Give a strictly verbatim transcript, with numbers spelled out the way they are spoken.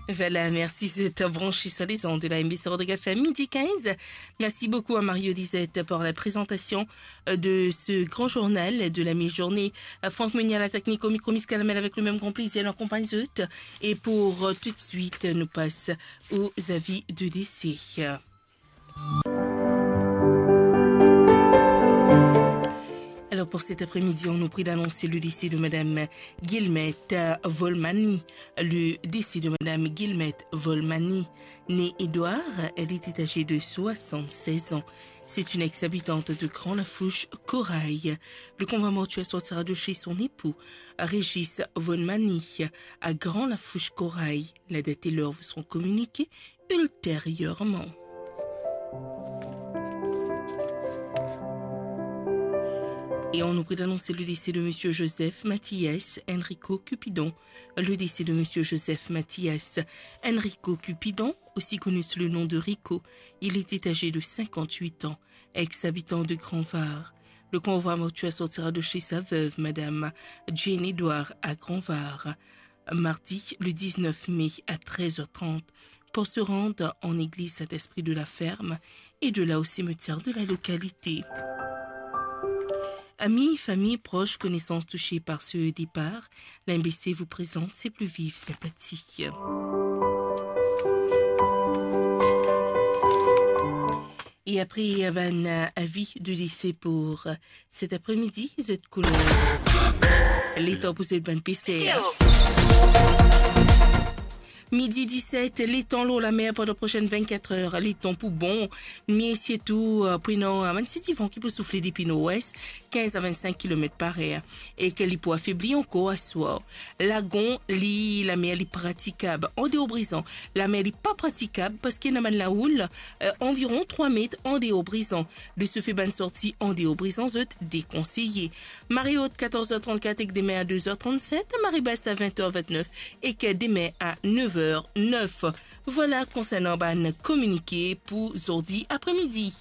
Voilà, merci, c'est branché sur les ondes de la M B C Rodrigues F M, midi quinze. Merci beaucoup à Mario Lisette pour la présentation, euh, de ce grand journal de la mi-journée. Euh, Franck Meunier à la technique, au micro, Miss Calamel avec le même grand plaisir, en compagnie de... Et pour, euh, tout de suite, nous passe aux avis de décès. Alors, pour cet après-midi, on nous prie d'annoncer le décès de Madame Guillemette Volmani. Le décès de Madame Guillemette Volmani, née Édouard, elle était âgée de soixante-seize ans. C'est une ex-habitante de Grand Lafouche, Corail. Le convoi mortuaire sortira de chez son époux, Régis Volmani, à Grand Lafouche, Corail. La date et l'heure vous seront communiquées ultérieurement. Et on nous prie d'annoncer le décès de Monsieur Joseph Mathias Enrico Cupidon. Le décès de Monsieur Joseph Mathias Enrico Cupidon, aussi connu sous le nom de Rico. Il était âgé de cinquante-huit ans, ex-habitant de Grand Var. Le convoi mortuaire sortira de chez sa veuve, Madame Jane Edouard, à Grand Var, mardi le dix-neuf mai à treize heures trente, pour se rendre en église Saint-Esprit de la Ferme et de là au cimetière de la localité. Amis, famille, proches, connaissances touchés par ce départ, l'M B C vous présente ses plus vives sympathies. E apre, eh ben, avi de dese pou, eh, set apremidi, zot koulè. Letan pou zot bann peser. Midi diset, letan lor lamer pandan prosenn vennkat er, letan pou bon. Me sirtou, eh, prenon, eh, bann ti divan ki pou soufle depi norwes, kinz a vennsink kilomet par er, e ke li pou afebli ankor aswar. Lagon, li, lamer li pratikab andeor Brizan. Lamer li pa pratikab parski ena bann laoul, eh, anviron trwa met andeor Brizan. De se fe, bann sorti andeor Brizan zot dekonseye. Mare ot, katorz er trannkat ek demin a doz er trannset, mare bas a vent er ventnef ek demin a nef er nef. Vwala konsernan bann kominike pou zordi apremidi.